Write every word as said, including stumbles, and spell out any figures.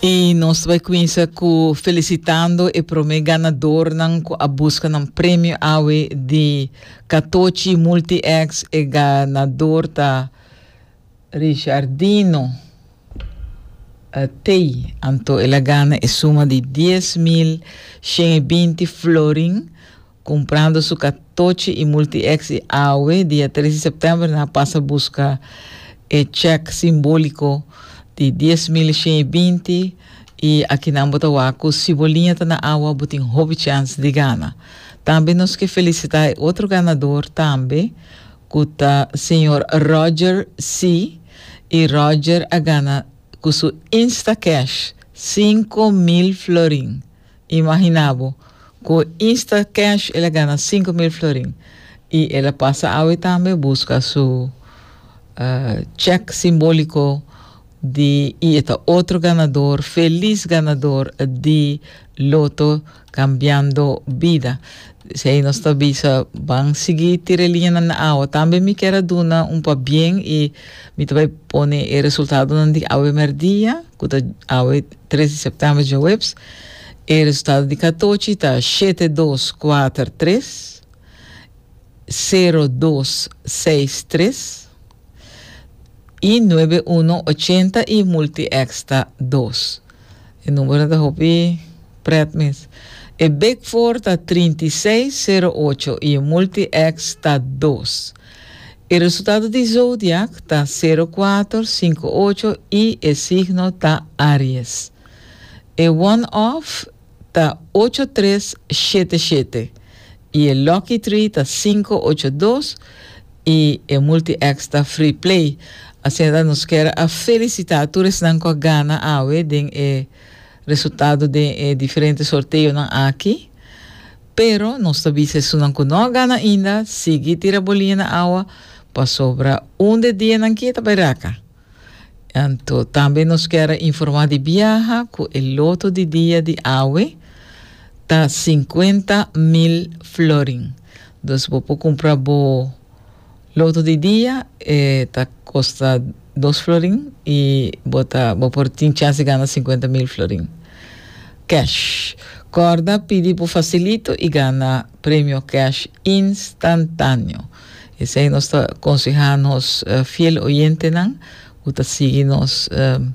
I nos ta bai kuminsá ku felisitando e promé ganadónan ku a buska nan premio awe di Catochi Multi X. E ganadó ta Richardino uh, T. Anto el a gana e suma di dies mil shen i binti florin kumprando su Catochi i Multi X i awe, dia tres di sèptèmber, nan a pasa buska e chèk simbóliko di dies mil shen i binti. I aki nan bo ta wak ku si bo liña ta na awa, bo tin hopi chèns di gana. Tambe nos ke felisitá otro ganadó tambe, ku ta señor Roger C. I Roger a gana ku su Instacash sinku mil florin. Imaginá bo, ku Instacash el a gana sinku mil florin. I el a pasa awe tambe buska su uh, chèk simbóliko di i ta otro ganadó, felis ganadó di Lotto Kambiando Bida. Si nos ta bisa, ban sigui tira liña na awa. Tambe mi ke duna un pabien i mi ta bai pone e resultado di awe merdia, ku ta awe tres di sèptèmber, djaweps. E resultado di Catochi ta shete dos kuater tres sero dos seis tres i nuebe uno ocho zero i Multi X ta dos. E number ta hopi pret mes. E Big Four ta tres seis sero ocho i Multi X ta dos. E resultado di Zodiac ta sero kuater sinku ocho i e signo ta Aries. E one-off ta ocho tres shete shete i e Lucky Three ta sinku ocho dos i e Multi X ta free play. Asina nos ke a felisitá tur esnan ku a gana awe den e resultado di e diferente sorteonan aki. Pero nos ta bisa esunnan ku no a gana ainda, sigui tira bo liña na awa, pasobra un di e dianan aki ta bai raka. Anto, tambe nos ke informá di biaha ku e loto di dia di awe ta sinkuenta mil florin. Dus bo por kumpra bo loto di dia, eh, ta kosta dos florin i bo ta bo por tin chèns di gana sinkuenta mil florin. Cash. Kòrda pidi bo fasilito i gana premio cash instantáneo. Esei nos ta konsehá nos uh, fiel oyentenan, ku ta sigui nos um,